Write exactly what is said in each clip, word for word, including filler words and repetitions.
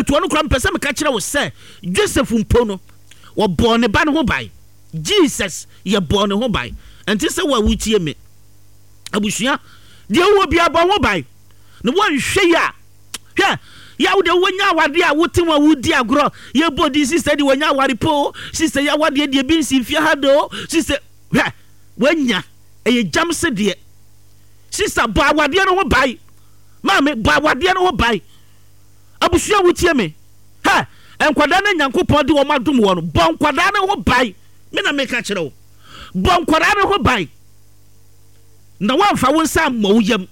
Etu ɔno koraa mepɛ sɛ meka kyerɛ wo sɛ Joseph mpo no, wɔbɔɔ ne ba no ho ban. Jesus yɛbɔɔ ne ho ban. Ɛnte sɛ wo a wotie me. Abusua, deɛ wowɔ biara bɔ ho ban. Na woanhwɛ yi a, hwɛ, yɛ a wode wonya awadeɛ a wote ho a wodi agorɔ, yɛbɔ din sister deɛ wanya aware po, sister yɛ awadeɛ deɛ bi nsi mfie ha do, sister, hwɛ, woanya, ɛyɛ gyam se deɛ. Sister, bɔ awadeɛ no ho ban. Maame, bɔ awadeɛ no ho ban. Abusua wotie me. Hɛ, nkwadaa no Nyankopɔn de wɔn adom wɔ no, bɔ nkwadaa no ho ban. Me na meka kyerɛ wo. Bɔ nkwadaa no ho ban. Na woamfa wo nsa ammɔ wo yam.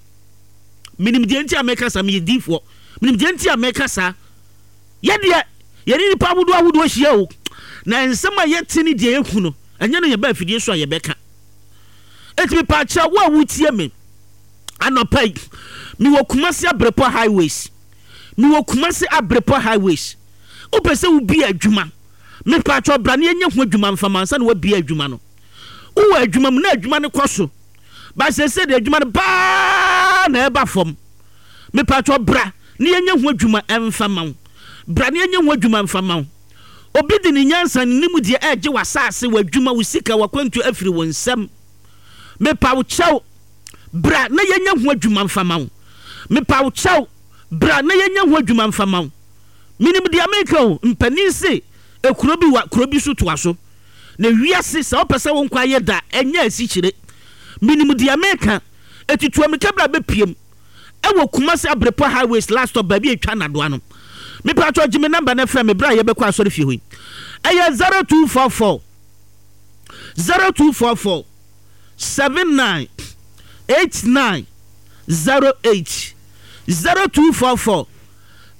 Menim deɛ nti a meka saa, meyɛ diifoɔ. Menim deɛ nti a meka saa. Yɛ deɛ, yɛne nnipa ahodoɔ ahodoɔ hyia o. Na nsɛm a yɛte ne deɛ yɛhu no, ɛnyɛ no yɛba afidie so a yɛbɛka. Enti mepaakyɛw wo a wotie me anɔpa yi, mewɔ Kumasi Abrepɔ Highways. Mewɔ Kumasi Abrepɔ Highways. Wopɛ sɛ wobie adwuma, mepaakyɛw bra na yɛnyɛ ho adwuma mfa ma ansa na woabie adwuma no. Wowɔ adwuma mu na adwuma no kɔ so, ba seesei deɛ adwuma no baa na ɛba fam. Mepaakyɛw bra na yɛnyɛ ho adwuma mfa ma wo. Bra na yɛnyɛ ho adwuma mfa ma wo. Obi de ne nyansa ne nimdeɛ ɛregye w'asaase, w'adwuma, wo sika, w'akwantuo afiri wo nsam. Mepa wo kyɛw, bra na yɛnyɛ ho adwuma mfa ma wo. Mepa wo kyɛw, bra na yɛnyɛ ho adwuma mfa ma wo. Menim deɛ meka o, mpanin se ekuro bi wa kuro bi so toa so. Na wiase sɛ wopɛ sɛ wo nkwa yɛ da ɛnyɛ asikyire. Menim deɛ meka, eti tu amika bra bɛpiem ɛwɔ Kumasi Abrepɔ Highways last stop baabi a etwa nadoa no. Mepa kyɛw gye me number na frɛ me bra a yɛbɛkɔ asɔre fie hɔ yi. Ɛyɛ zero two four four zero two four four seven nine eight nine zero eight zero two four four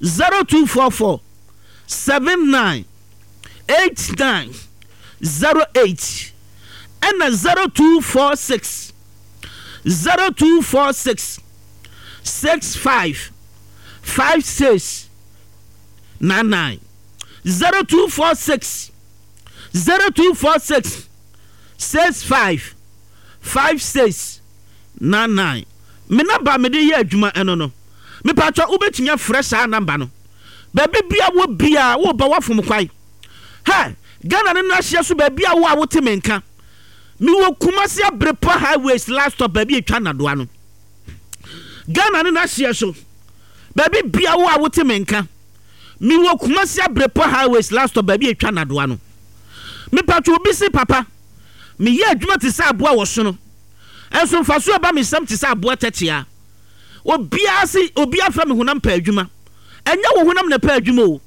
zero two four four seven nine eight nine zero eight ɛna zero two four six zero two four six six five five six nine nine zero two four six zero two four six six five five six nine nine. Me number me de yɛ adwuma ɛno no. Mepatwa wobɛtumi afrɛ saa number no. Baabi bia wɔ bia woba wafom kwan. Hɛ, Ghana no n'ahyeɛ so baabi a wo a wote me nka. Mewɔ Kumasi Abrepɔ Highways last stop baabi atwa nadoa no. Ghana no n'ahyeɛ so baabi bia wo a wote me nka. Mewɔ Kumasi Abrepɔ Highways last stop baabi atwa nadoa no. Mepatwa obi si papa, meyɛ adwuma te sɛ aboa wɔ sono. Ɛnso mfaso ɛba me nsam te sɛ aboa tɛkyea. Obiara se obiara frɛ me honam pɛ adwuma. Ɛnyɛ wo honam na ɛpɛ adwuma o.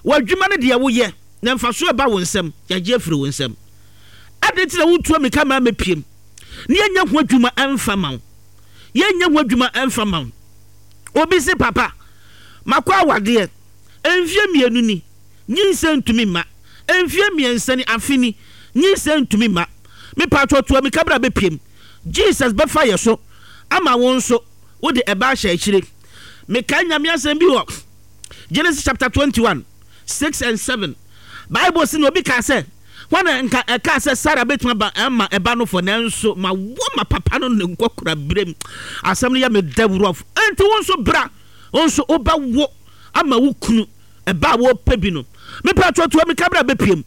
W'adwuma no deɛ woyɛ, na mfaso ɛba wo nsam, yɛagye afiri wo nsam. Adɛn nti na wotua mmirika ma mɛpiem na yɛnyɛ ho adwuma ɛmfa ma wo? Yɛnyɛ ho adwuma ɛmfa ma wo. Obi se papa, makɔ awadeɛ, mfie mmienu ni, nyinsɛn ntumi mma. Mfie mmiɛnsa ni, afe ni, nyinsɛn ntumi mma. Mepatwɔ tua mmirika bra bɛpiem. Jesus bɛfa yɛ so ama wo nso wode ɛba ahyɛ akyire. Mekae Nyame asɛm bi wɔ Genesis chapter twenty-one, six and seven. Bible se na obi kaa sɛ, hwan na nka ɛkaa sɛ Sarah bɛtumi aba ama ɛba no fɔ, nanso ma wo ma papa no ne nkɔkora berɛm. Asɛm no yɛ me dɛworɔf. Enti wo nso bra, wo nso wobɛwo ama wo kunu ɛba a wɔpɛ bi no. Mepɛ atoatoa mi kabra bɛpiem.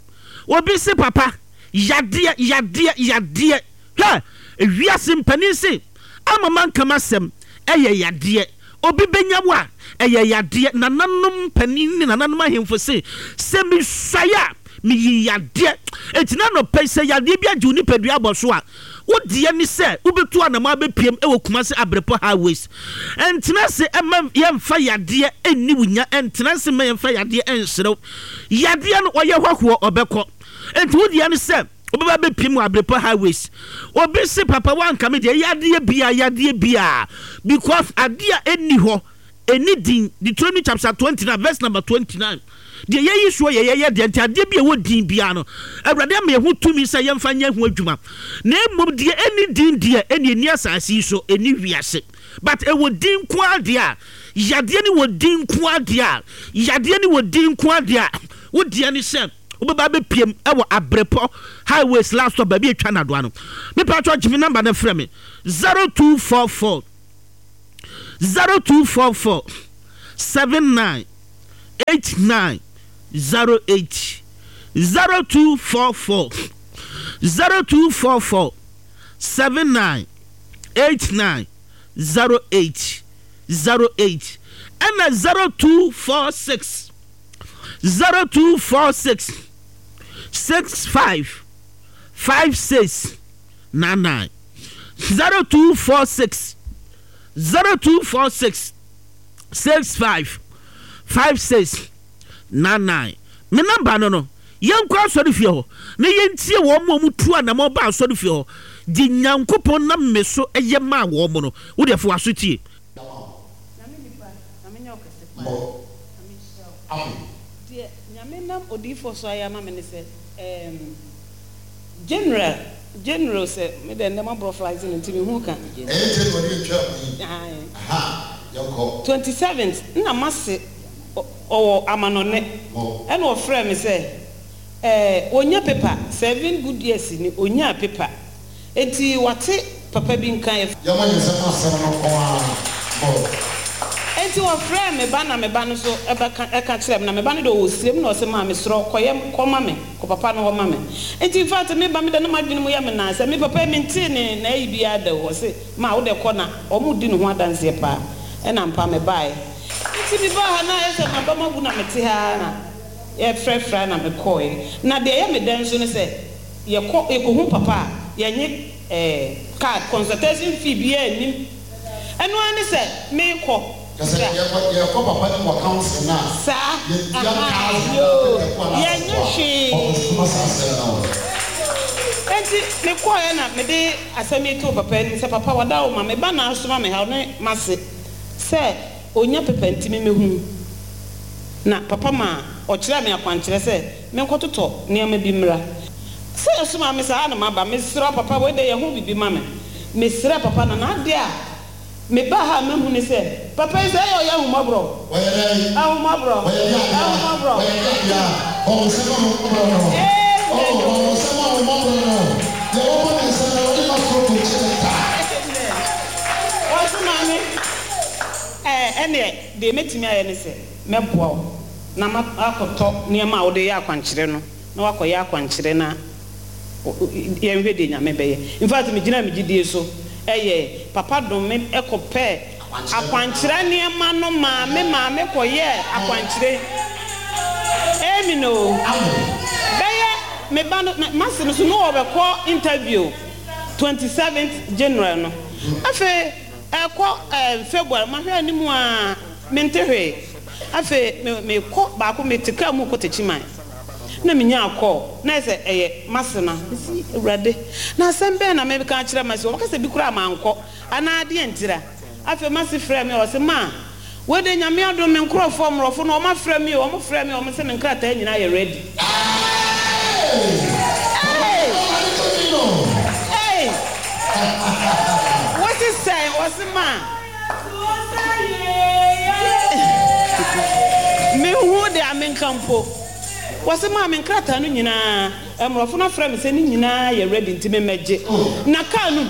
Obi se papa, yadeɛ, yadeɛ, yadeɛ. Hwɛ, ewiase mpanin se ama manka m'asɛm ɛyɛ yadeɛ. Obi bɛnya wo a ɛyɛ yadeɛ. Nananom mpanin ne nananom ahemfo se sɛ mesuae a meyi yadeɛ. Enti na anɔpa yi sɛ yadeɛ bi agye wo nipadua abɔ so a, wo deɛ ne sɛ wobɛtu anamɔ abɛpiem ɛwɔ Kumasi Abrepɔ Highways. Ɛntena ase ɛma yɛmfa yadeɛ ɛnni wo nya. Ɛntena ase ma yɛmfa yadeɛ ɛnserew. Yadeɛ no ɔyɛ hɔhoɔ ɔbɛkɔ. Enti wo deɛ ne sɛ wobɛba bɛpiem wɔ Abrepɔ Highways. Obi se papa wanka me deɛ yadeɛ bia yadeɛ bia because adeɛ a ɛnni hɔ ɛnni din. Deuteronomy chapter twenty-nine verse number twenty-nine. Deɛ yɛyi soɔ yɛ yɛyɛ deɛ nti adeɛ bi a ɛwɔ din biara no Awurade ama yɛn ho tumi sɛ yɛmfa nyɛ ho adwuma. Na mmom deɛ ɛnni din deɛ ɛnni ɛnni asase yi so ɛnni wiase. But ɛwɔ din nko ara deɛ a yadeɛ ne wɔ din nko ara deɛ a yadeɛ ne wɔ din nko ara deɛ a wo deɛ ne sɛ wobɛba bɛpiem ɛwɔ Abrepɔ Highways last stop baabi atwa nadoa no. Mepa atwa gye me number na frɛ me zero two four four zero two four four seven nine eight nine zero eight zero two four four zero two four four seven nine eight nine zero eight zero eight ɛna zero two four six zero two four six six five five six nine nine zero two four six zero two four six six five five six nine nine me number no no yɛnkɔ asɔre fie hɔ na yɛntie wɔn mu a wɔtu anamɔ ba asɔre fie hɔ de Nyankopɔn nam me so ɛyɛ maa wɔn mo no wode afo aso tie. Nyame nipa, Nyame nyɛ wo kɛse paa. Mo. Nyame nhyira wo. Amen. Deɛ Nyame nam odiyifoɔ so ayɛ ama me ne sɛ, ɛɛm, General, General sɛ, me deɛ nnɛ moaborɔflize no nti mehu ka. Ɛyɛ January a etwaa mu yi. Ae. Aha, yɛnkɔ. Twenty seventh, nna m'ase ɔwɔ amanɔne, Mo. ɛna ɔfrɛɛ me sɛ, ɛɛ, ɔnya paper, seven good years ni, ɔnyaa paper. Enti wate papa bi nka, yɛfrɛ. Yɛmmɔ yɛn nsam asɛm no nko ara. Mo. Enti wɔfrɛɛ me ba na me ba no nso bɛka ɛka kyerɛɛ me na me ba no deɛ ɔwɔ sirem na ɔse maa mesrɛ wo kɔyɛ kɔ ma me kɔ papa no hɔ ma me enti infact me ba me deɛ na m'adwene mu yɛ me naa sɛ me papa yi mentee ne n'ayi biara da o ɔse maa wo deɛ kɔ na wɔn di ne ho adanseɛ paa ɛna ampa me baeɛ nti me baa ha na ayɛ sɛ m'aba mu abu na mete ha ara na yɛfrɛfrɛ na me kɔeɛ na deɛ ɛyɛ me dɛ nso ne sɛ yɛkɔ yɛkɔhu papa a yɛnye ɛɛ card consultation fee biara nnim. Ɛno ara ne sɛ merekɔ. Kyerɛ sɛ yɛkɔ yɛkɔ papa no mu wɔ council no a, Saa, yɛntua ahaa, thousand anaa yoo, pɛtɛpo anaa yɛnyɛ sɛfoa a, hwee. ɔkɔsoma saa asɛm no wɔ. Enti mekɔeɛ na mede asɛm yi too papa anim sɛ, Papa, wada wo ma, me ba na asoma me ha, ɔne m'ase, sɛ ɔnya pepa nti memmɛhu. Na papa maa ɔkyerɛɛ me akwankyerɛ sɛ menkɔtotɔ nneɛma bi mmra. Sɛ ɛsomaa me saa na maba. Mesrɛ wo papa, wei deɛ yɛ ho biribi ma me. Mesrɛɛ papa no, na adeɛ a mebaa ha a mahu ne sɛ, papa yi sɛ ɛyɛ ɔyɛ ahummɔborɔ. Ɔyɛ dɛn? Ahummɔborɔ. Ɔyɛ deɛ adeɛ a? Ahummɔborɔ. Ɔyɛ deɛ adeɛ a? Bɔ wo nsam ahummɔborɔ no. Amen Oh, bɔ wo o. nsam ahummɔborɔ no. Deɛ wɔbɔ ne nsam no, Awurade mma kuro nkyɛ ne da. Amen. Ɔse maame, ɛɛ ɛneɛ deɛ mɛtumi ayɛ ne sɛ mɛboa wo na makɔtɔ nneɛma a wode yɛ akwankyerɛ no na wakɔyɛ akwankyerɛ na yɛnhwɛ deɛ Nyame bɛyɛ. In fact, megyinaa me gyidie so ɛyɛɛ. Papa dom me kɔpɛɛ akwankyerɛ nneɛma no maa me maame kɔyɛɛ akwankyerɛ. Amen o. Bɛyɛ me ba no, m'ase no so na ɔbɛkɔ interview twenty seventh January no. Afei ɛkɔ ɛɛ February, mahwɛ anim a mente hwee. Afei me mekɔ baako, mete kaa mu rekɔ Techiman. Na minyaa call, na ayɛ sɛ ɛyɛ m'asena. Mese, Awurade, na asɛm bɛn na meka akyerɛ m'ase? Wɔbɛka sɛ bi koraa mankɔ, anaa deɛn ntira? Afei m'ase frɛɛ me, ɔse, Ma, wei deɛ Nyame adom, me nkorɔfoɔ mmorɔfo no, wɔafrɛ me o, wɔfrɛɛ me, wɔse me nkrataa nyinaa yɛ ready. Hey! Hey! Wose sɛn? Ɔse, Ma, menhu deɛ menka mpo. Wɔse maa me nkrataa no nyinaa, mmorɔfo no afrɛ me sɛ ne nyinaa yɛ ready nti me mmɛgye. Na car no mu,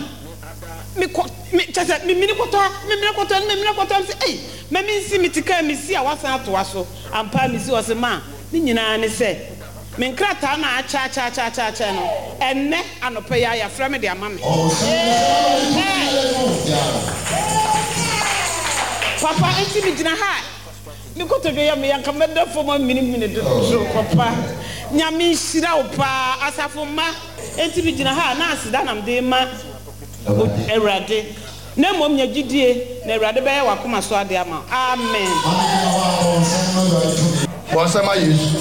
me kɔ, me, kyerɛ sɛ me mini kɔtɔ ha, me mini kɔtɔ ha, me mini kɔtɔ ha, me se ei, ma me nsi, me te car mu si a wasan atoa so. Ampa ara me si, ɔse maa, ne nyinaa ne sɛ, me nkrataa no a akyɛ akyɛ akyɛ akyɛ akyɛ no, ɛnnɛ anɔpa yi ara yɛafrɛ me de ama me. Papa, nti me gyina ha a, Me kotodwe yɛ me ya nka mɛda fam aminimini dodo papa Nyame nhyira wo paa asafo mma. Enti me gyina ha a na aseda na mede rema Awurade na mmom nya gyidie na Awurade bɛyɛ w'akoma so adeɛ ama wo amen. Maame gyina hɔ a bɔ wo nsam ma Awurade tumi. Bɔ nsam ma Yesu.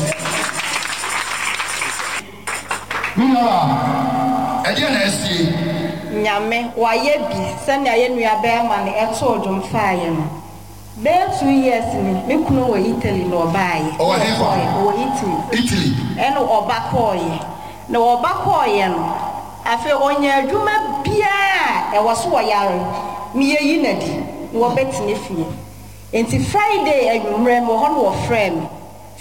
Me nuabaa, ɛdeɛn na asie? Nyame wayɛ bi sɛnea yɛn nua bɛɛma no too dwom faeɛ no. Bɛyɛ two years ni, me kunu wɔ Italy na ɔbaeɛ. Ɔwɔ hefa? Ɔkɔeɛ, ɔwɔ Italy. Italy. Ɛna ɔba kɔeɛ. Na ɔba kɔeɛ no, afei ɔnya adwuma biara a ɛwɔ so ɔyare no yɛyi no adi na wɔbɛtena fie. Nti Friday anwummerɛ mewɔ hɔ na wɔfrɛɛ me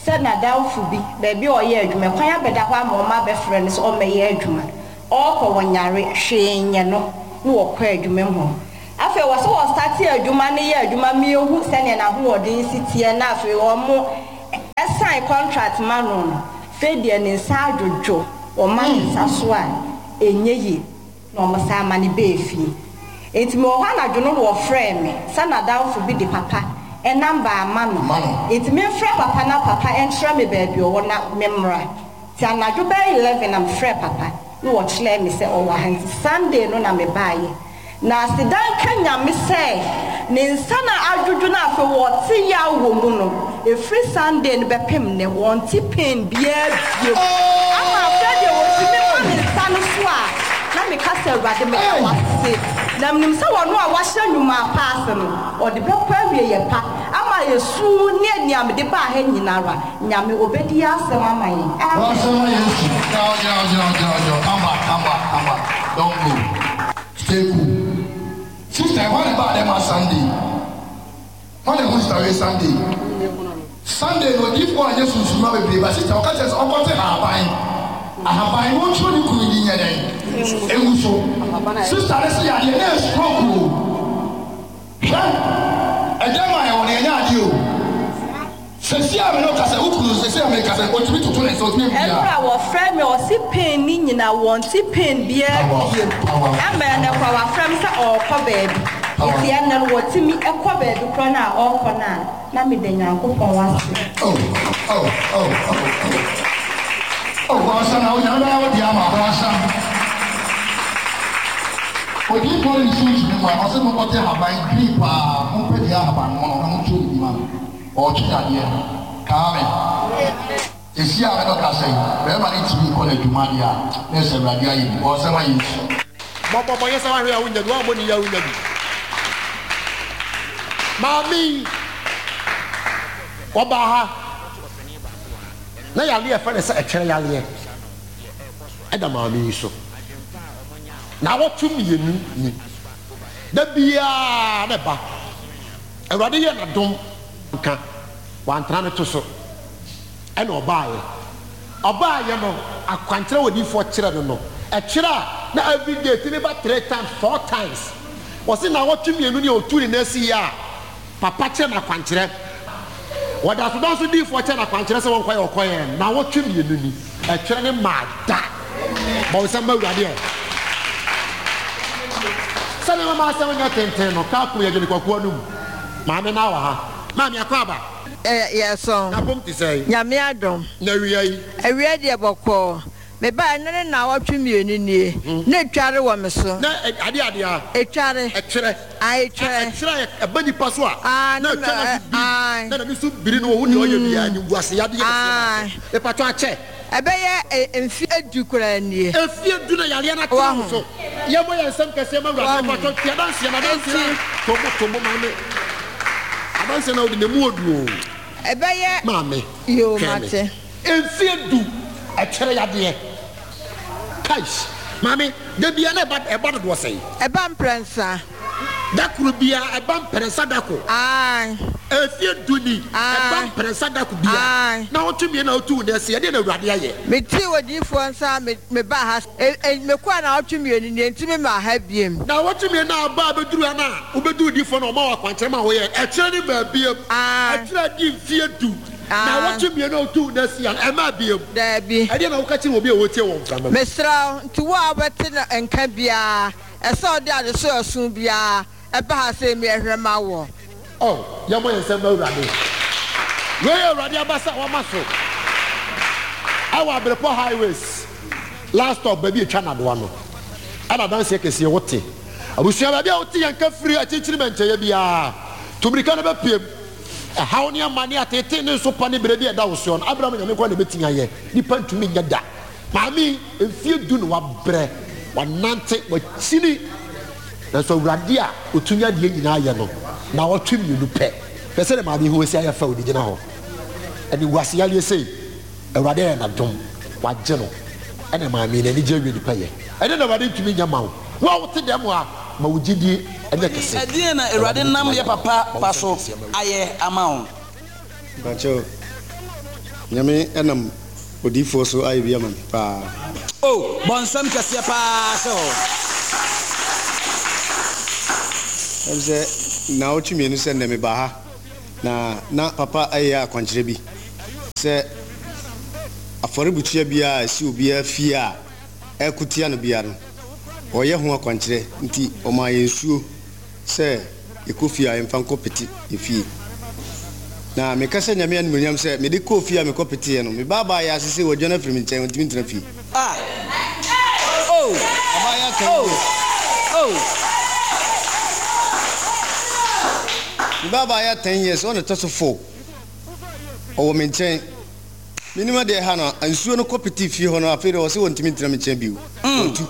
sɛ n'adamfo bi, baabi a ɔyɛ adwuma, kwan abɛda hɔ ama wɔn abɛfrɛ no sɛ ɔmmɛyɛ adwuma. Ɔɔkɔ wɔnyare, hwee nyɛ no na wɔkɔ adwuma mu hɔ. Afei wɔ sɛ wɔ starte adwuma no yɛ adwuma ma yɛhu sɛdeɛ n'ahoɔden si teɛ na afei wɔn Yɛsan contract ma no no fɛ deɛ ne nsa adwodwo ɔma ne nsa so a ɛnyɛ yie na ɔmo san ma ne bɛɛ fie. Enti mewɔ hɔ anadwo no na wɔfrɛɛ me sɛ n'adamfo bi de papa ɛnam baama no. Enti memfrɛ papa na papa ɛnkyerɛ me baabi ɔwɔ na memmra. Nti anadwo bɛyɛ eleven na mefrɛ papa na wɔkyerɛɛ me sɛ ɔwɔ ha. Nti Sunday no na mebaeɛ. Na asedan ka Nyame sɛ ne nsa na adwodwo no afei wɔte yaw wɔ mu no, ɛfiri Sunday no bɛpem nnɛ wɔnte pain biara bio. Ama afei deɛ wɔtumi ma ne nsa no so a na meka sɛ Awurade meda wo ase. Na menim sɛ wɔno a wahyɛ nnwuma pa ase no, ɔde bɛkɔ awie yɛ pa ama yɛsu ne nea mede baa ha nyinara. Nyame obɛdi yɛ asɛm ama yɛn. Amen. Come back, come back, come back. Don't go. Stay cool. Sister, what about them on Sunday? What about sister Sunday? Sunday no give one yes to baby, but sister, what says Uncle Haban? I have I won't show you could in your name. Sister, let's see, I didn't stroke. And then my own idea. Ɛnura wɔfrɛ me ɔsi pain ni nyina wɔnti pain biara biem. Ama ɛnɛ kɔ wɔafrɛ me sɛ ɔrekɔ baabi. Nti ɛnɛ no wɔtumi ɛkɔ baabi korɔ na ɔrekɔ na na meda Nyankopɔn ase. Oh, oh, oh, oh, oh. Oh, bɔnsam na onyame bɛyɛ wo deɛ ama bɔnsam. Odiyifoɔ no nsu ntumi mu a ɔsɛ monkɔte haban green paa mompɛ deɛ ahaban mono na montwerɛ ne bi ma no. Ɔtwe adeɛ kaame esi a mɛdɔ kasa yi bɛrima ne tumi kɔ n'adwuma deɛ a na ɛsɛ Awurade ayɛ bi ɔsɛm ayɛ nsu. Bɔbɔbɔ yɛ sɛ wahwɛ a wonya bi wammɔ ne yɛ a wonya bi. Maame ɔbaa ha na yareɛ fɛ ne sɛ ɛtwerɛ yareɛ ɛda maame yi so na awɔtwe mmienu ni da biara ne ba Awurade yɛ n'adom nka wantena ne to so ɛna ɔbaayɛ ɔbaayɛ no akwankyerɛ wɔ diifoɔ kyerɛ no no ɛkyerɛ a na every day timi ba three times four times wɔsi na awɔtwe mmienu ni otu ne n'asi yɛ a papa kyerɛ no akwankyerɛ wɔda so dɔn so diifoɔ kyerɛ no akwankyerɛ sɛ wɔnkɔyɛ ɔkɔyɛ na awɔtwe mmienu ni ɛkyerɛ ne maa da bɔnsɛm ma Awurade ɛ sɛdeɛ mama asɛm nyɛ tenten no kaa kun yɛ gyene kwakuo no mu maame na wɔ ha. Maame akɔ aba. Eh, yes, on. Na pom te sɛ. Nyame adom. Na wia yi. Awia deɛ bɔkɔɔ. Me ba ne ne na wɔtwe mmienu nie. Na etware wɔ me so. Na ade ade a. Etware. Ɛtwerɛ. Ah, etwerɛ. Ɛtwerɛ ɛba nipa so a. Ah, na etwa na bi. Na na so biri no wo ne ɔyɛ bia ni guase yade yɛ Ah. E patɔ akyɛ. Ɛbɛyɛ mfe edu koraa nie. Efi edu na yare na tena so. Yɛ mo yɛ nsɛm kɛseɛ ma Awurade patɔ tia danse na danse. Tomo tomo maame. Adanse na wode ne mu odu o. Ɛbɛyɛ maame. Yo mate. Mfe edu ɛkyerɛ yadeɛ. Kaish. Maame, da bia na ɛba ɛba dodoɔ sɛn? Ɛba mprɛnsa. Dakoro bia ɛba mprɛnsa dako. Aye. Mfe edu ni ɛba mprɛnsa dako bia. Aye. Na wotumi na wotu ne ɛsɛ yɛde na Awurade ayɛ. Meti odiyifoɔ nsa me me ba ha. E e mekɔ na wotumi mmienu ni ntumi ma ha biem. Na wotumi na aba abɛduru ha na wobɛduru diifoɔ na ɔma wɔ akwankyerɛ ma woyɛ. Ɛkyerɛ ne baabi. Aye. Ɛkyerɛ di mfe edu. Na wotumi mmienu wotu ne ɛsɛ yɛn ɛma biem. Daabi. Ɛdeɛ na woka kyerɛ obi a wotie wɔn mframa. Mesrɛ nti wo a wobɛte na nka biara ɛsɛ ɔde ade so ɛso biara ɛba ha sɛ mi ɛhwɛ ma wɔ. Oh, yɛmmɔ yɛn nsɛm ma Awurade. Wei yɛ Awurade abasa a wama so. Ɛwɔ Abrepɔ highways. Last stop baabi etwa nadoa no. Ɛna adanseɛ kɛseɛ wote. Abusua baabi a wote yɛn ka firi akyirikyiri mɛnkyɛyɛ biara. Tumirika no bɛpiem. Ɛhaw ne amane atete ne nso pa ne berɛ bi a ɛda wo soɔ no. Abraham Nyame nkwa na ɛbɛtumi ayɛ. Nipa ntumi nyɛ da. Maame mfie du na wabrɛ. Wanante wakyini. Nanso Awurade a otumi adeɛ nyinaa yɛ no na wɔtwe mmienu pɛ. Hwɛ sɛ ne maame ho esi ayɛ fɛ odi gyina hɔ. Ɛne guase yareɛ sei Awurade ayɛ n'adom wagye no. Ɛna maame n'ani gye awie nipa yɛ. Ɛne na Awurade ntumi nyɛ ma wo. Wo a wote dɛm a ma wo gyidie ɛnyɛ kɛse. Ɛdeɛn na Awurade nam yɛ papa pa so ayɛ ama wo? Mpakyɛw, Nyame ɛnam odiyifoɔ so ayɛ bi ama me paa. Oh, bɔnsɛm kɛseɛ paa sɛ hɔ. Ɛm sɛ na ɔtwe mmienu sɛ nnɛ meba ha na na papa ayɛ akwankyerɛ bi Sɛ afɔrebukyia biara a ɛsi obiara fie a ɛkotia no biara no, ɔyɛ ho akwankyerɛ nti ɔmaa yɛn nsuo sɛ yɛkɔ fie a yɛmfa nkɔ pete yɛ fie. Na meka sɛ Nyame animuonyam sɛ mede kɔɔ fie a mekɔ peteɛ no, me baabaa yɛ ase sɛ wɔadwane afiri me nkyɛn, ɔntumi ntena fie. Ah! Oh! Abaayewa ten Oh! years. Oh! Me baabaa yɛ ten years, ɔna ɛtɔ so four. Ɔwɔ me nkyɛn. Menim adeɛ ha no, nsuo no kɔ petee fie hɔ no, afei deɛ ɔsɛ wɔntumi ntena me nkyɛn bio. Wɔtu.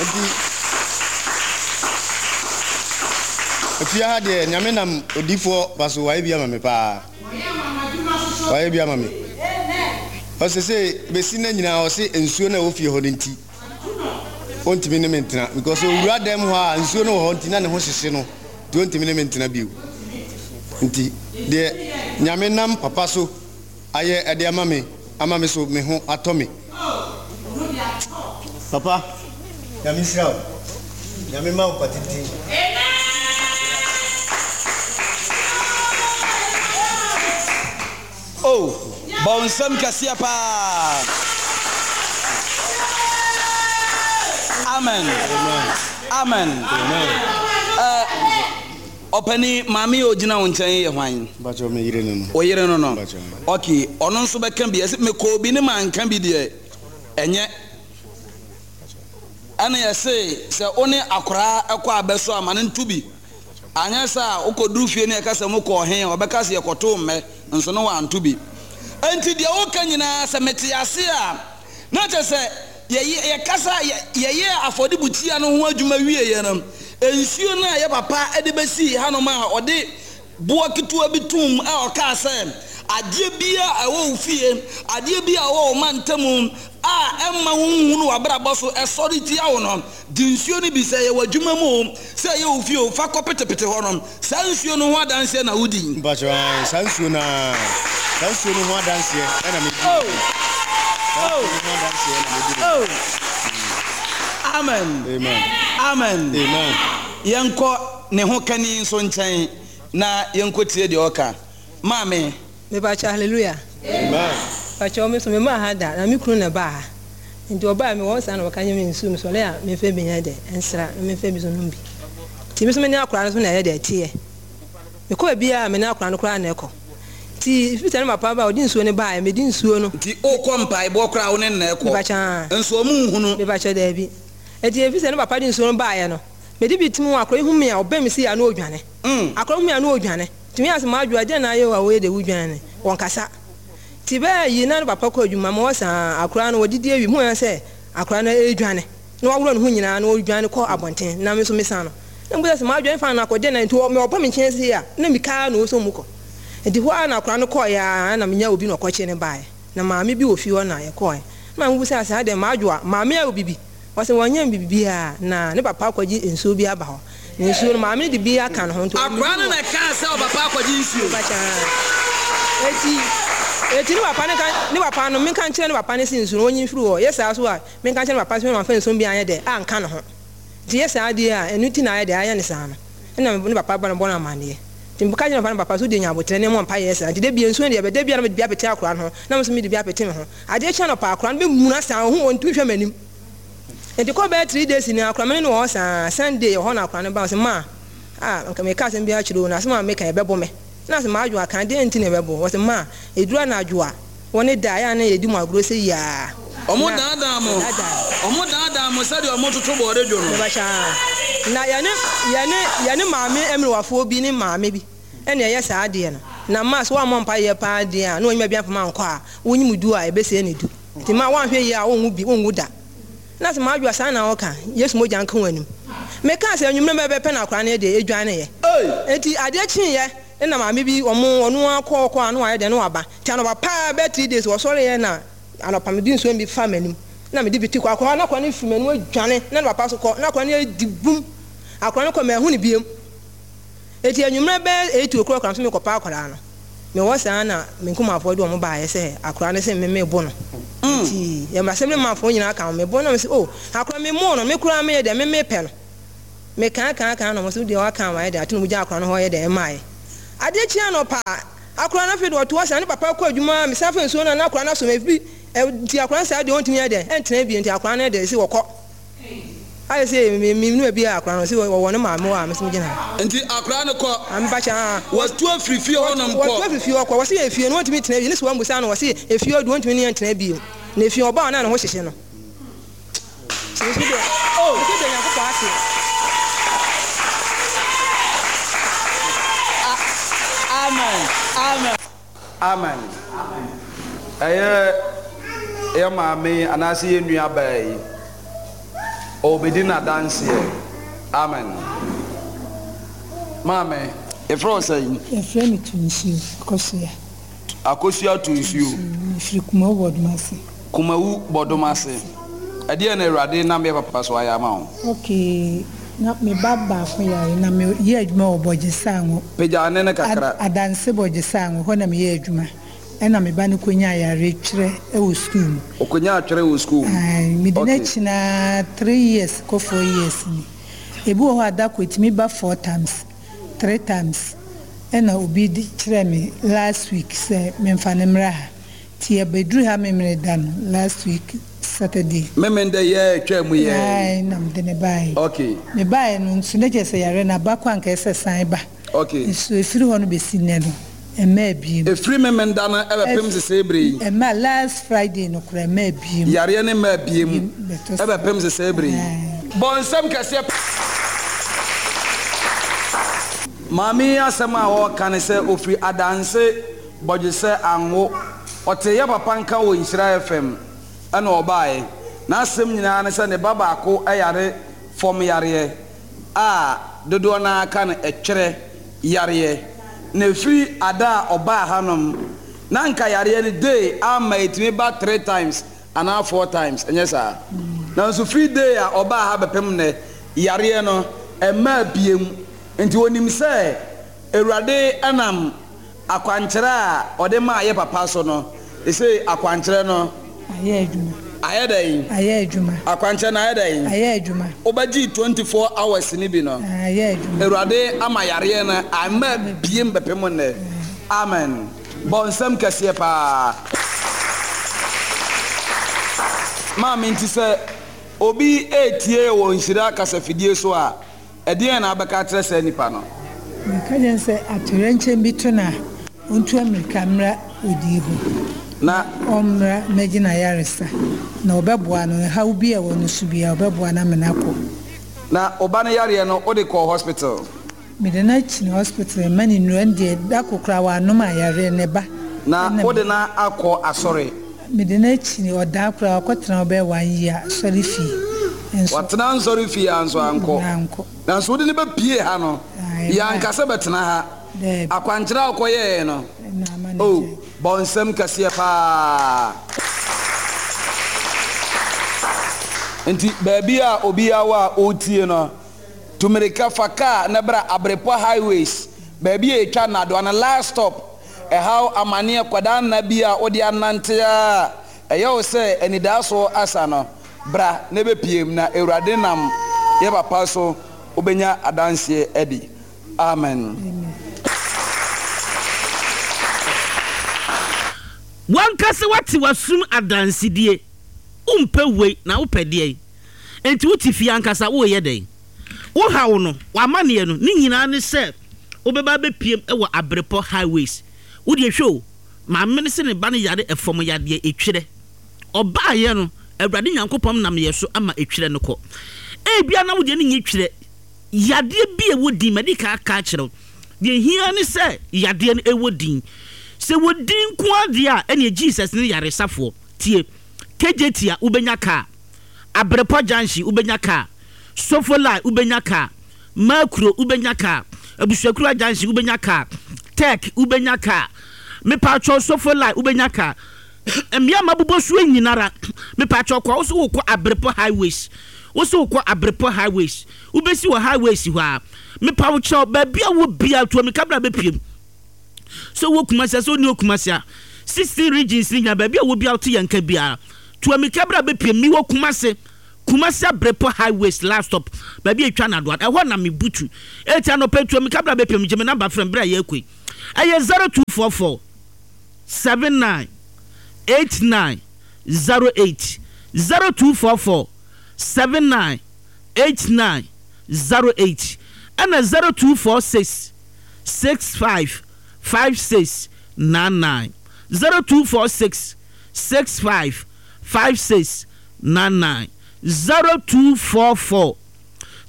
Nti, afie ha deɛ, Nyame nam odiyifoɔ ba so wayɛ bi ama me paa. Wayɛ bi ama me. Ɔsɛ sɛ bɛsi nna nyinaa ɔse nsuo no a ɛwɔ fie hɔ no nti, ɔntumi ne me ntena. Because owura dɛm hɔ a nsuo no wɔ hɔ nti na ne ho hyehye no, nti ɔntumi ne me ntena bio. Nti deɛ Nyame nam papa so ayɛ ɛde ama me, ama me so me ho atɔ me. Papa, Nyame nhyira wo. Nyame ma wo nkwa tenten. Oh, bɔ wo nsam kɛseɛ paa. Amen. Amen. Amen. Eh, ɔpani, maame a ɔgyina wo nkyɛn yi yɛ hwan? Mpakyɛ me yere no no. Wo yere no no. Mpakyɛ. Ok, ɔno nso bɛka bi. Ɛsɛ mekɔɔ bi ne manka bi deɛ, ɛnyɛ. Ɛna yɛse sɛ wo ne akoraa kɔ abɛso a, ma no nto bi. Anyɛ saa a, wokɔduru fie ne yɛka sɛ mokɔɔ he a, ɔbɛka sɛ yɛkɔtoo mmɛ, nso ne wanto bi. Enti deɛ woka nyinaa, sɛ mete ase a, na kyerɛ sɛ yɛyɛ, yɛkasa, yɛ, yɛyɛɛ afɔrebukyia no ho adwuma wieeɛ no, nsuo no a yɛ papa de bɛsii hanom a ɔde boɔ ketewa bi toom a ɔkaa sɛ, Adeɛ biara a ɛwɔ wo fie, adeɛ biara a ɛwɔ wo mantamu a ɛmma wonhunu w'abrabɔ so ɛsɔre tia wo no, gye nsuo no bi, sɛ ɛyɛ w'adwuma mu o, sɛ ɛyɛ wo fie o, fa kɔpetepete hɔ no. Saa nsuo no ho adanseɛ na wodi. Mpakyɛw, ae, saa nsuo no ara, saa nsuo no ho adanseɛ na medi no Oh! bi. Saa Oh! nsuo no ho adanseɛ na medi no bi. Oh! Amen. Amen. Amen. Amen. Yɛnkɔ ne ho kani nso nkyɛn na yɛnkɔtie deɛ ɔka. Maame. Mepakyɛw hallelujah. Amen. Pakyɛw me so me maa ha da na me kunu na ɛbaa ha nti ɔbaa me wɔ saa na ɔka nye me nsuo me sɔre a me nfa bi nyɛ dɛ nsra na me nfa bi so nom bi nti me so me ne akora no so na ɛyɛ dɛ ɛteɛ me kɔ baabi a me ne akora no koraa na ɛkɔ nti firi sɛ ne papa ba ɔde nsuo no baa me di nsuo no. Nti okɔ mpaebɔ koraa wo ne no na ɛkɔ Mepakyɛw nso ɔmo nhunu. Mepakyɛw daabi nti efiri sɛ ne papa de nsuo no baeɛ no me de bi tim ho akora yi hu me a ɔbɛn me si a na ɔdwane akora hu me a na ɔdwane. Tumi ase m'adwoa dɛn na ayɛ wo a woyɛ dɛ wudwan ne wɔnkasa Nti bɛɛ yi na ne papa kɔ adwuma ma wɔsa akora no wɔdidi awie muhu sɛ akora no redwane na waworɔ ne ho nyinaa na ɔredwane kɔ abɔnten na me nso mesan no na mebisa sɛ m'adwoa mfa no akɔ dɛn na nti wɔ me ɔba me nkyɛn sei a na mika na ɔsɔ mu kɔ Nti hɔ ara na akora no kɔeɛ a na menya obi na ɔkɔkye no baeɛ na maame bi wɔ fie hɔ na yɛkɔeɛ na maame bisa sɛ adɛn m'adwoa maame ayɛ wo bibi Ɔse wɔnyɛ me biribiara na ne papa akɔgye nsuo bi aba hɔ na nsuo no maame no de bi aka ne ho nti Akwadaa no na ɛkaa sɛ ɔpapa akɔgye nsuo. Eti eti ne papa no ka ne papa no menka nkyerɛ ne papa no se nsuo no ɔnyi mfiri hɔ yɛ saa so a menka nkyerɛ ne papa se mamfa nsuo no bi anyɛ dɛ anka ne ho nti yɛ saa deɛ a ɛno nti na ayɛ dɛ ayɛ no saa no ɛna ne papa ba no bɔ no amaneɛ nti meka kyerɛ ne papa no papa so deɛ nya aboterɛ ne mmɔ mpaeɛ saa nti da bia nsuo no deɛ bɛ da bia na mede bi apete akwadaa no ho na me nso mede bi apete me ho adeɛ kye anɔpa akwadaa no bɛmuna saa ɔho ɔntumi hwɛ m'anim Nti kɔ bɛyɛ three days ni akora me ne no wɔ hɔ saa Sunday wɔ hɔ na akora no ba ɔse ma ah nka meka asɛm bi akyerɛ wo na asɛm a meka ɛbɛbo me na ɔse m'adwo aka deɛn nti na ɛbɛbo wo ɔse ma ɛduru anadwo a wɔ ne da a ɛyɛ a na yɛdi mo agorɔ sɛ yiaa Ɔmo na daadaa mo, yɛdaadaa ɔmo daadaa mo sɛdeɛ ɔmo toto bɔɔde dwo no. Mebakyɛ aa na yɛne yɛne yɛne maame mmerewafoɔ bi ne maame bi ɛna ɛyɛ saa adeɛ no na ma sɛ woammɔ mpaeɛ paa deɛ a na wanyima bi amfa mankɔ a wonyim du a ɛbɛsɛe ne du nti ma woanhwɛ yie a wonwu bi wonwu da. Na sɛ m'adwoa saa na ɔka, Yesu mogya nka w'anim. Mekaa sɛ anwummerɛ bɛbɛ pɛ na akwadaa no deɛ ɛdwaneeɛ. Enti adeɛ kyeeɛ na maame bi ɔmo ɔno ara kɔ kɔ a na wayɛ dɛn na waba. Nti anɔpa paa bɛyɛ three days wɔsɔreeɛ na anɔpa mede nsuo no bi faa m'anim na mede bi te kɔ akwadaa na akwadaa no firi m'anim adwane na ne papa nso kɔ na akwadaa no adi bum. Akwadaa no kɔ manhu no biom. Enti anwummerɛ bɛyɛ eight o'clock na me nso mekɔpa akwadaa no. Mewɔ saa na me nkumafoɔ de wɔn baeɛ sɛ akwadaa no se me mebo no. Nti yɛn assembly manfoɔ nyinaa ka ho mebo no na mese oh akwadaa memo no me koraa meyɛ dɛn me mepɛ no. Mekaa kaa kaa na wɔn se wodeɛ waka ama ayɛ dɛn ate na wɔgyaa akwadaa no hɔ yɛ dɛn ɛmaeɛ. Adeɛ kye anɔpa a, akora no afei de ɔto hɔ saa, ne papa kɔ adwuma a, mesan fa nsuo no a na akora no asom efi nti akora no saa deɛ ɔntumi yɛ dɛn ɛntena bio nti akora no deɛ sɛ wɔkɔ. Ayɛ sɛ me me nua bi a akora no sɛ wɔwɔ ne maame hɔ a me nso megyina ha. Nti akora no kɔ. Ah, mepa kyɛ ah. Watu afiri fie hɔ nom kɔ. Watu afiri fie hɔ kɔ. Wɔse efie no wɔntumi ntena bio. Ne sɛ wɔammusa no wɔse efie hɔ deɛ wɔntumi ne yɛn ntena bio. Na efie ɔbaa no a ne ho hyehye no. Nti me nso deɛ Oh. me nso da Nyankopɔn ase. Amen. Amen. Amen. Ɛyɛ yɛ maame yi anaasɛ yɛ nua baa yi, ɔrebɛdi n'adanseɛ. Amen. Maame, yɛfrɛ wo sɛn? Yɛfrɛ me Tunsuo Akosua. Akosua Tunsuo. Mefiri Kumawu Bɔdomase. Kumawu Bɔdomase. Ɛdeɛn na Awurade nam yɛ papa so ayɛ ama wo? Okay, na me ba baako yare na me yɛ adwuma wɔ Bɔgyesango. Pagya nne no kakra. Adanse Bɔgyesango, hɔ na me yɛ adwuma. Ɛna me ba no kɔnyaa yareɛ twerɛ wɔ sukuu mu. Ɔkɔnyaa twerɛ wɔ sukuu mu? Ae, mede no Okay. akyi no ara three years kɔ four years ni. Ebi wɔ hɔ a da koro ɛtumi ba four times, three times. Ɛna obi de kyerɛɛ me last week sɛ memfa no mmra ha. Nti yɛbɛduru ha Memeneda no, last week Saturday. Memenda yi a ɛtwaa mu yi ara yi? Ae, na mede no baeɛ. Okay. Mebaeɛ no nso na kyerɛ sɛ yareɛ no aba kɔ anka ɛsɛ sɛ san ba. Okay. Nso ɛfiri hɔ no bɛsi nnɛ no, ɛmmaa bio. Ɛfiri Memenda no bɛpem sesei berɛ yi? Ɛmmaa, last Friday no koraa ɛmmaa bio. Yareɛ no mmaa bio Bɛtɔ so. bɛpem sesei berɛ yi? Ae. Bɔ nsɛm kɛseɛ. Maame yi asɛm a ɔreka ne sɛ ɔfiri Adanse Bɔdwesɛ Anwo. Ɔtee yɛ papa nka wɔ Nhyira F M ɛna ɔbaeɛ. N'asɛm nyinaa ne sɛ ne ba baako yare fam yareɛ a dodoɔ no ara ka no ɛtwerɛ yareɛ. Na ɛfiri ada a ɔbaa hanom na anka yareɛ no day ama ɛtumi ba three times anaa four times, ɛnyɛ saa? Nanso firi day a ɔbaa ha bɛpem nnɛ, yareɛ no ɛmmaa biom. Nti ɔnim sɛ Awurade nam akwankyerɛ a ɔde maa yɛ papa so no, seesei akwankyerɛ no Ayɛ adwuma. ayɛ dɛn? Ayɛ adwuma. Akwankyerɛ no ayɛ dɛn? Ayɛ adwuma. Wobɛgyee twenty four hours no bi no, Ayɛ adwuma. Awurade ama yareɛ no amma biem bɛpem nnɛ. Amen. Bɔ nsɛm kɛseɛ paa. Maame, nti sɛ obi retie wɔ Nhyira kasafidie so a, ɛdeɛn na wobɛka akyerɛ saa nipa no? Meka kyerɛ no sɛ atoyerɛnkyɛm bi to no a, ɔntu ammirika mmra odii hɔ, Na na ɔmmra mmɛgye n'ayaresa, na ɔbɛboa no, haw bi a ɛwɔ no so biara, ɔbɛboa no ama no akɔ. Na wo ba no yareɛ no, wode kɔɔ hospital? Mede no akyini hospital, mma no nnuro, ɛno deɛ da koro koraa wannom a yareɛ no ɛba. Na Ɛna wode me no akɔ asɔre? Mede no akyini, ɔdaa koraa, ɔkɔtena hɔ bɛyɛ one year asɔre fie nso. Watena nsɔre fie ara nso ankɔ. Ankɔ. Nanso wode no bɛpue ha no, Ae, yɛanka sɛ bɛtena ha. Daabi. Akwankyerɛ a wokɔyɛeɛ no, Ɛna ama no oh, gyae. bɔ nsam kɛseɛ paa. Nti baabi a obiara wɔ a ɔretie no, tu mmirika fa kaa na bra Abrepɔ Highways, baabi a yɛtwa nnadewa no, last stop. Ɛhaw, amaneɛ, kwadaa nna bi a wode anante ara a ɛyɛ wo sɛ anidaasoɔ asa no, bra na bɛpue mu na Awurade nam yɛ papa so wobɛnya adanseɛ adi. Amen. W'ankasa woate w'asom adansedie. Wompɛ wei na wopɛ deɛn? Enti wote fie ankasa woreyɛ dɛn? Wo haw no, w'amaneɛ no, ne nyinaa ne sɛ wobɛba abɛpiem wɔ Abrepɔ Highways. Wo deɛ hwɛ o, maame no se ne ba no yare ɛfam yadeɛ, etwerɛ. Ɔbaeɛ no, Awurade Nyankopɔn nam yɛ so ama etwerɛ no kɔ. Ebia na wo deɛ no nyɛ twerɛ, yadeɛ bi a ɛwɔ din, madi kan aka akyerɛ wo. Deɛ ɛhia ne sɛ yadeɛ no ɛwɔ din. Sɛ ɛwɔ din nko ara deɛ a, ɛneɛ Jesus ne yaresafoɔ. Tie, Kejetia wobɛnya kaa, Abrepɔ Junction wobɛnya kaa, Sofolai wobɛnya kaa, Makuro wobɛnya kaa, Abusuakura Junction wobɛnya kaa, Tech wobɛnya kaa, mepatwɔ Sofolai wobɛnya kaa, mmea ma bobɔ soɔ nyinara, mepatwɔ kɔ, wo so wokɔ Abrepɔ Highways, wo so wokɔ Abrepɔ Highways, wobɛsi wɔ Highways hɔ a, mepa wo kyɛw, baabi a wɔ bia, tu amika bra bɛpiem. Sɛ wɔ Kumasi a, sɛ wonni wɔ Kumasi a, sixteen regions ni nyinaa, baabi a wɔ bia wote yɛn nka biara, tu amika bra bɛpiem. Mewɔ Kumasi, Kumasi Abrepɔ Highways last stop, baabi a etwa nadoa, ɛhɔ na mebutu. Eti anɔpa tu amika bra bɛpiem, gye me namba frɛ me berɛ a yɛrekɔ yi. Ɛyɛ zero two four four seven nine eight nine zero eight zero two four four seven nine eight nine zero eight ɛna zero two four six six five five six nine nine zero two four six six five five six nine nine zero two four four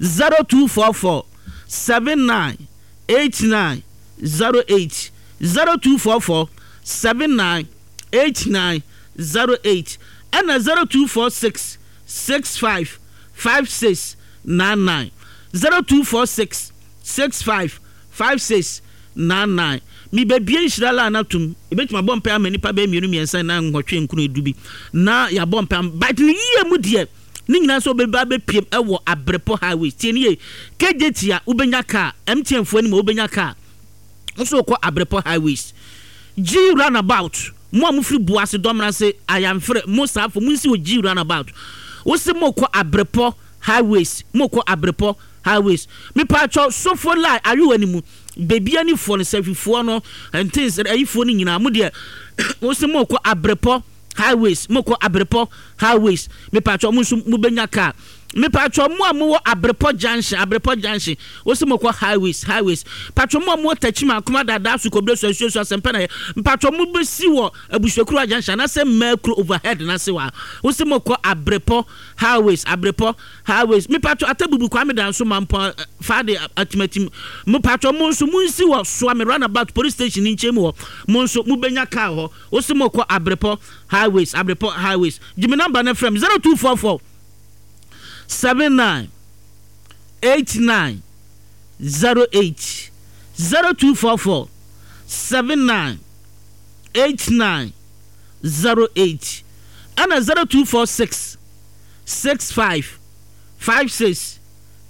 zero two four four seven nine eight nine zero eight zero two four four seven nine eight nine zero eight ɛna zero two four six six five five six nine nine zero two four six six five five six nine nine. Mebɛbie nhyira line no atom. Yɛbɛtumi abɔ mpaeɛ ama nnipa bɛyɛ mmienu mmiɛnsa nnan nwɔtwe nkron edu bi na yɛabɔ mpaeɛ ama but ne yie mu deɛ ne nyinaa nso wobɛba abɛpiem wɔ Abrepɔ highway. Tie ne yie, K J T a wobɛnya car, M T N foɔ anim a wobɛnya car nso wokɔ Abrepɔ highways. G runabout, mo a mofiri Boase, Dɔmrase, Ayamfrɛ, mo saafo monsi wɔ G runabout. Wose mokɔ Abrepɔ highways, mokɔ Abrepɔ highways. Mepaakyɛw, Sofo line, Ayowa no mu, Bebianifoɔ no, Safifoɔ no, Ntens, ayifoɔ no nyinaa, mo deɛ, wose mokɔ Abrepɔ highways, mokɔ Abrepɔ highways. Mepaakyɛw, mo nso mobɛnya car. Mepaakyɛw, mo a mowɔ Abrepɔ junction, Abrepɔ junction, wose mokɔ highways, highways. Mpakyɛw, mo a mowɔ Techiman, Akoma, Dada, Sukobere, Suasuasu, Asɛmpa na yɛ. Mpakyɛw, mobɛsi wɔ Abusuakuruwa junction anaasɛ Mmaakuro overhead no ase hɔ a, wose mokɔ Abrepɔ highways, Abrepɔ highways. Mepaakyɛw, Atabubu, Kwame Danso, Mampɔn, Fade, Atimatim. Mepaakyɛw, mo nso monsi wɔ Suame roundabout police station no nkyɛn mu hɔ. Mo nso mobɛnya car hɔ. Wose mokɔ Abrepɔ highways, Abrepɔ highways. Gye me number no frɛ me, zero two four four seven nine eight nine zero eight zero two four four seven nine eight nine zero eight ɛna zero two four six six five five six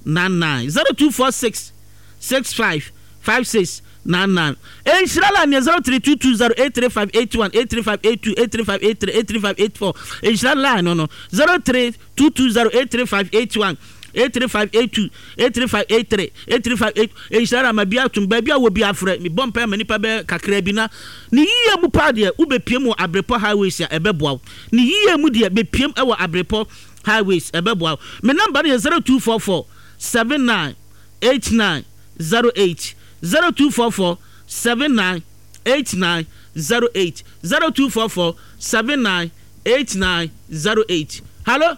nine nine zero two four six six five five six nine nine. Nhyira line yɛ zero three two two zero eight three five eight one eight three five eight two eight three five eight three eight three five eight four. Nhyira line no no zero three two two zero eight three five eight one eight three five eight two eight three five eight three eight three five eight. Nhyira line ma bi atum baabi a wɔ bi afrɛ me bɔ mpae ma nipa bɛyɛ kakra bi na ne yie mu paa deɛ wobɛpiem wɔ Abrepɔ highways a ɛbɛboa wo. Ne yie mu deɛ bɛpiem wɔ Abrepɔ highways ɛbɛboa wo. Me number no yɛ zero two four four seven nine eight nine zero eight zero two four four seven nine eight nine zero eight zero two four four seven nine eight nine zero eight. Hello,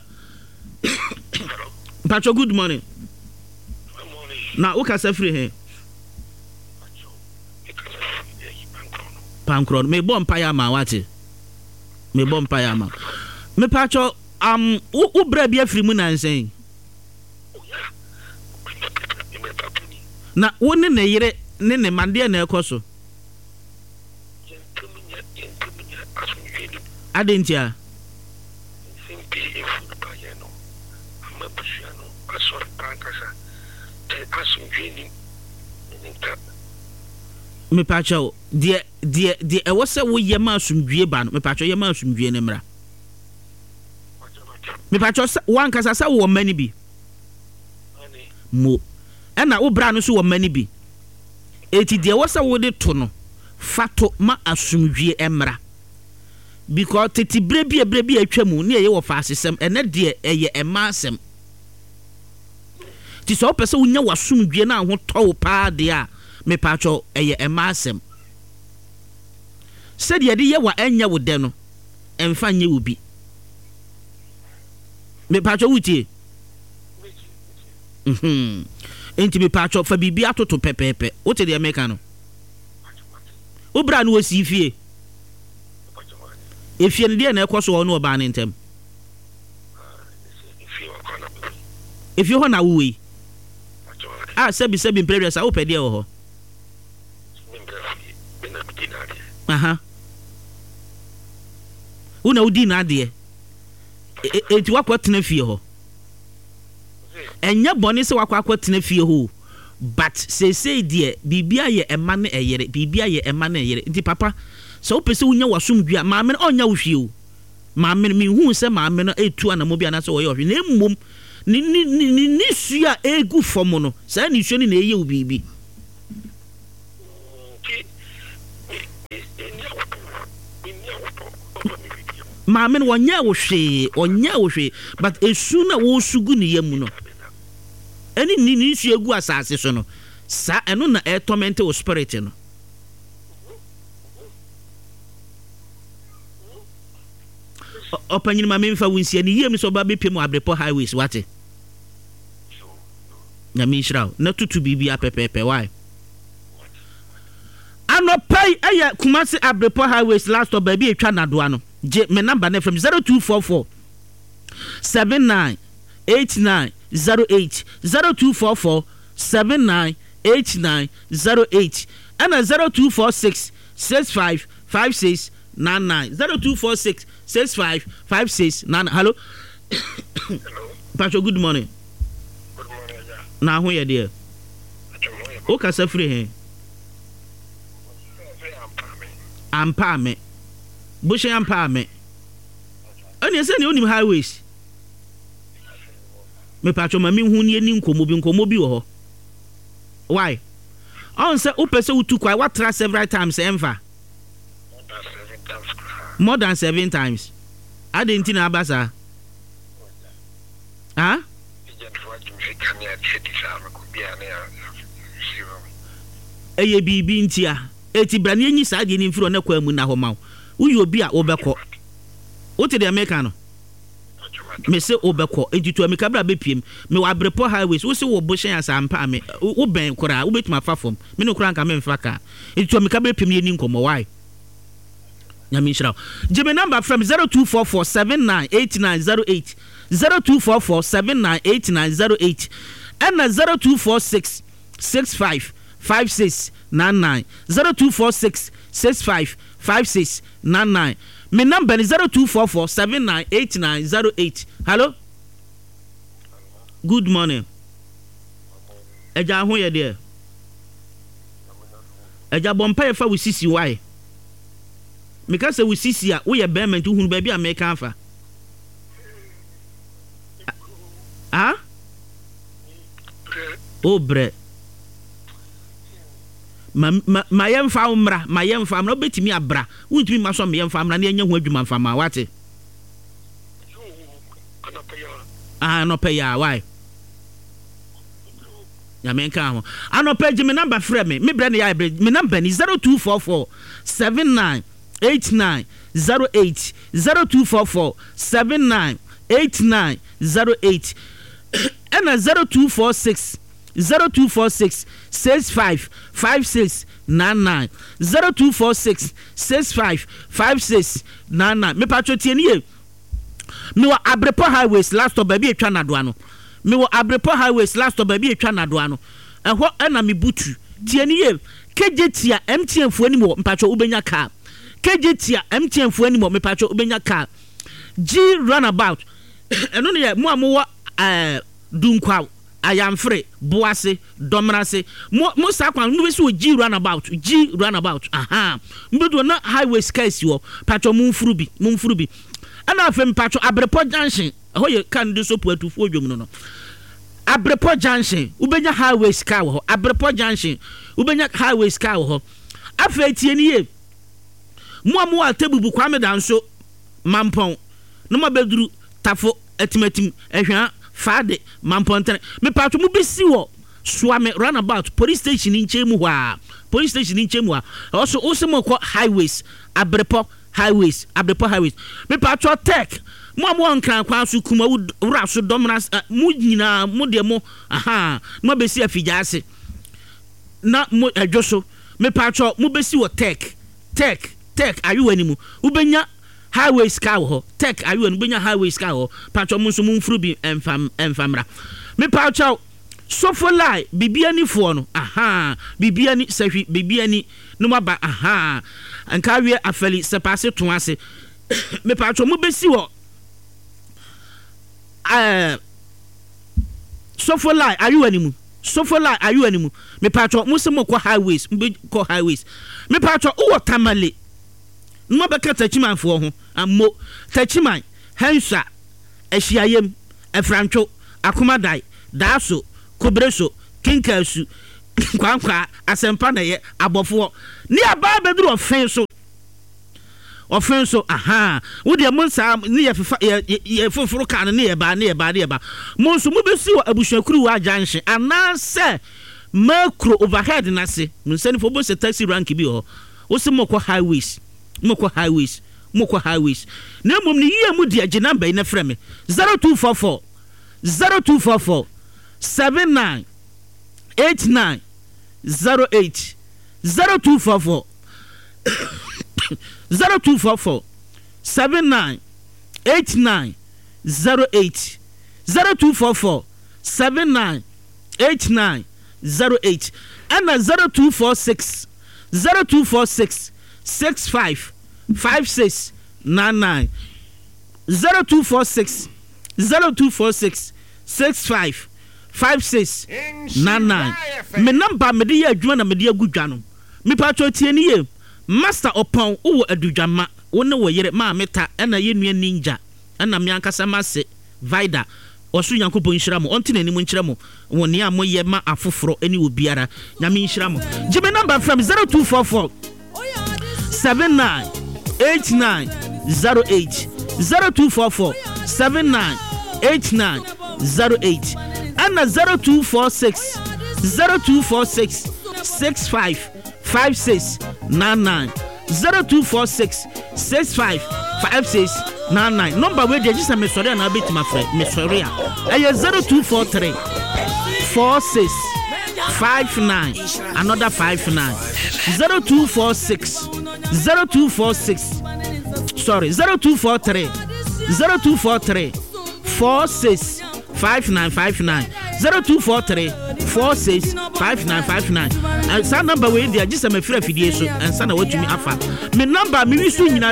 Mpacho, good morning. Na wo kasa firi he? Pankorɔ no. Mebɔ mpaeɛ ama wate. Mebɔ mpaeɛ ama. Mepacho, um, wo, wo brɛ bi afiri mu nansa yi? Na wo ne ne yere ne ne mma deɛ na ɛkɔ so? Adɛn ntia? Mepakyɛw, deɛ, deɛ, deɛ ɛwɔ sɛ woyɛ ma asomdwie ba no, mepakyɛw yɛ ma asomdwie no mmra. Mepakyɛw sɛ, wankasa sɛ wowɔ mma no bi? Mo. Ɛna wo bra no nso wɔ mma no bi. Enti deɛ ɛwɔ sɛ wode to no, fa to ma asomdwie mmra. Because tete berɛ bi a berɛ bi a atwa mu ne ɛyɛ wɔ faasesɛm, ɛnɛ deɛ ɛyɛ mmaa asɛm. Nti sɛ wopɛ sɛ wonya w'asomdwie na ahotɔ wo paa deɛ a, mepaakyɛw ɛyɛ mmaa asɛm. Sɛdeɛ yɛde yɛ wo a ɛnyɛ wo dɛ no, ɛmfa nyɛ wo bi. Mepaakyɛw wotie? Mhm. Enti mepaakyɛw fa biribi atoto pɛpɛɛpɛ. Wote deɛ meka no? Wo bra no wɔsii fie. Efie no deɛ na ɛkɔ so wɔ wo ne ɔbaa no ntam? Efie hɔ na wowɔ yi? A sɛbi sɛbi mprɛ aduasa wopɛ deɛ wɔ hɔ? Aha. Wo na wodi n'adeɛ. Enti woakɔ tena fie hɔ. Ɛnyɛ bɔne sɛ woakɔ akɔtena fie hɔ o, but seesei deɛ biribi ayɛ ɛma ne ɛyere, biribi ayɛ ɛma ne ɛyere. Nti papa, sɛ wopɛ sɛ wonya w'asomdwoeɛ a, maame no ɔnnya wo hwee o. Maame no, menhuu sɛ maame no retu anammɔn bi anaasɛ ɔyɛ ɔhwee, na mmom ne, ne, ne, ne nisuo a ɛregu fam no, saa nisuo no na ɛreyɛ wo biribi. Nti Maame no ɔnyɛɛ wo hwee, ɔnyɛɛ wo hwee, but esu no a wɔresu gu ne yam no, ɛne ne ne nsuo egu asase so no, saa ɛno na ɛretɔmɛnte wo spirit no. Ɔpanyin ma memfa wo nsia ne yie mu sɛ ɔba bɛpie mu Abrepɔ highways wate. Nyame nhyira wo na tutu biribi apɛpɛɛpɛ why. Anɔpa yi ɛyɛ Kumasi Abrepɔ highways last stop baabi a etwa nadoa no. Gye me number no frɛ me zero two four four seven nine eight nine zero eight zero two four four seven nine eight nine zero eight ɛna zero two four six six five five six nine nine zero two four six six five five six nine nine. Hello. Pastor, good morning. Good morning, Aja. Na ho yɛ deɛ. Wo kasa firi he? Ampa me. Bohyɛn ampa me. Ɛne sɛ ne wonim highways. Mepatwɔ ma menhu ne yɛni nkɔmmɔ bi nkɔmmɔ bi wɔ hɔ. Why? Ɔn sɛ wopɛ sɛ wotu kwae woatra several times ɛmfa. More than seven times. Adɛn nti na aba saa? Ah? Ɛyɛ biribi ntia. Eti bra na yɛnyi saa adeɛ no mfiri hɔ na kwan mu nna hɔ ma wo. Woyɛ obi a wobɛkɔ. Wote deɛ meka no? Mese wobɛkɔ. Enti tu amika bra bɛpiem. Mewɔ Abrepɔ highways. Wose wɔ Bohyɛn ase ampa a me wobɛn koraa. Wobɛtumi afa fam. Me ne wo koraa nka memfa kaa. Enti tu amika bra piem na yɛnni nkɔmmɔ. Why? Nyame nhyira wo. Gye me number frɛ me zero two four four seven nine eight nine zero eight zero two four four seven nine eight nine zero eight ɛna zero two four six six five five six nine nine zero two four six six five five six nine nine me number ni zero two four four seven nine eight nine zero eight. Hello, good morning. Ɛgya ho yɛ deɛ. Ɛgya bɔ mpa yɛ fa wo sisi wae. Meka sɛ wo sisi a woyɛ bɛrima nti wohunu baabi a meka afa. Ah? O brɛ. Ma ma ma yɛmfa wo mmra, ma yɛmfa mmra. Wobɛtumi abra. Wontumi mma so ma yɛmfa mmra na yɛnyɛ ho adwuma mfa ma wate. Ah, anɔpa yi a, why? Nyame nka ho. Anɔpa gye me number frɛ me. Me brɛ ne yɛ brɛ. Me number ni zero two four four seven nine eight nine zero eight zero two four four seven nine eight nine zero eight ɛna zero two four six zero two four six six five five six nine nine zero two four six six five five six nine nine. Mepatwo tie nie. Mewɔ Abrepɔ highways last stop baabi etwa nadoa no. Mewɔ Abrepɔ highways last stop baabi etwa nadoa no. Ɛhɔ ɛna me butu. Tie nie yie. K J tia M T N foɔ anim wɔ mpatwo wobɛnya car. K J tia M T N foɔ anim wɔ mepatwo wobɛnya car. G runabout ɛno ne yɛ mo a mowɔ ɛɛ Dunkwaw, Ayamfre, Boase, Dɔmrase. Mo mo saa kwan mo bɛsi wɔ G runabout, G runabout. Aha. Mo bɛdu hɔ na highways car si hɔ. Patwo mo mfuru bi, mo mfuru bi. Ɛna afei mpatwo Abrepɔ junction. Ɛhɔ yɛ car no de so Puatufoɔ dwom no no. Abrepɔ junction, wobɛnya highways car wɔ hɔ. Abrepɔ junction, wobɛnya highways car wɔ hɔ. Afei tie ni yie. Mo a mowɔ Atebubu, Kwame Danso, Mampɔn, na mo abɛduru Tafo, Atimatim, Ahwea, Faade, Mampɔntene. Mepatwo mo bɛsi wɔ Suame runabout, police station nkyɛn mu hɔ a. Police station nkyɛn mu hɔ a. Ɛhɔ so, wose mokɔ highways, Abrepɔ highways, Abrepɔ highways. Mepatwo tech, mo a mowɔ Nkran kwan so, Kumawu, Wura so, Dɔmena, mo nyinaa, mo deɛ mo, aha, na mo abɛsi Afigya ase. Na mo, ɛdwo so. Mepatwo, mo bɛsi wɔ tech, tech, tech, ayewa ni mu. Wobɛnya highways car wɔ hɔ. Tech ayewa no wobɛnya highways car wɔ hɔ. Patro mo nso mo mfuru bi ɛmfa ɛmfa mmra. Mepatro sofo lie biribi anifoɔ no aha biribi ani sɛhwi biribi ani no mo aba aha nka awie afɛli sɛpaase to ase. Mepatro mo bɛsi wɔ ɛɛ sofo lie ayewa ni mu. Sofo lie ayewa ni mu. Mepatro mo se mo kɔ highways mo bɛ kɔ highways. Mepatro wowɔ Tamale. Mo bɛka Tachimanfoɔ ho ammo Tachiman, Henswa, Ahyiayem, Afrantwo, Akomadai, Daaso, Kobreso, Kinkaasu, Nkwankwaa, Asɛmpa na ɛyɛ, Abɔfoɔ ne abaa bɛduru ɔfe so. Ɔfe nso aha wo deɛ, mo nsaa ne yɛ fefa yɛ yɛ foforo kaa no ne yɛ ba ne yɛ ba ne yɛ ba. Mo nso mobɛsi wɔ Abusuakuruwa junction anaasɛ Makuro overhead n'ase. Mo nsa nifa wobɛhu sɛ taxi rank bi wɔ hɔ. Wose mokɔ Highways, mokɔ Highways, mokɔ Highways. Na mmom ne yie mu deɛ, gye number yi na frɛ me, zero two four four zero two four four seven nine eight nine zero eight, zero two four four zero two four four seven nine eight nine zero eight, zero two four four seven nine eight nine zero eight, ɛna zero two four six zero two four six six five five six nine nine, zero two four six zero two four six six five five six nine nine. Me number mede yɛ adwuma na mede agu dwa no. Mipatwa, tie ne yie. Master Ɔpɔn, wowɔ Adudwama, wo ne wo yere Maame Ta, ɛna yɛ nua Ninja, ɛna me ankasa mase Vida. Ɔsoro Nyankopɔn nhyira mo, ɔnte n'anim nkyerɛ mo wɔ nea moyɛ ma afoforɔ ne obiara. Nyame nhyira mo. Gye me number frɛ me, zero two four four seven nine eight nine zero eight, zero two four four seven nine eight nine zero eight, ɛna zero two four six zero two four six six five five six nine nine, zero two four six six five five six nine nine. Number wei deɛ, gye sɛ mesɔre anaa bɛtumi afrɛ mesɔre a, ɛyɛ zero two four three four six five nine another five nine, zero two four six zero two four six, sorry, zero two four three zero two four three four six five nine five nine, zero two four three four six five nine five nine. Saa number wei deɛ, gye sɛ mafiri afidie so ɛnsa na watumi afa me number mewi so nyinaa.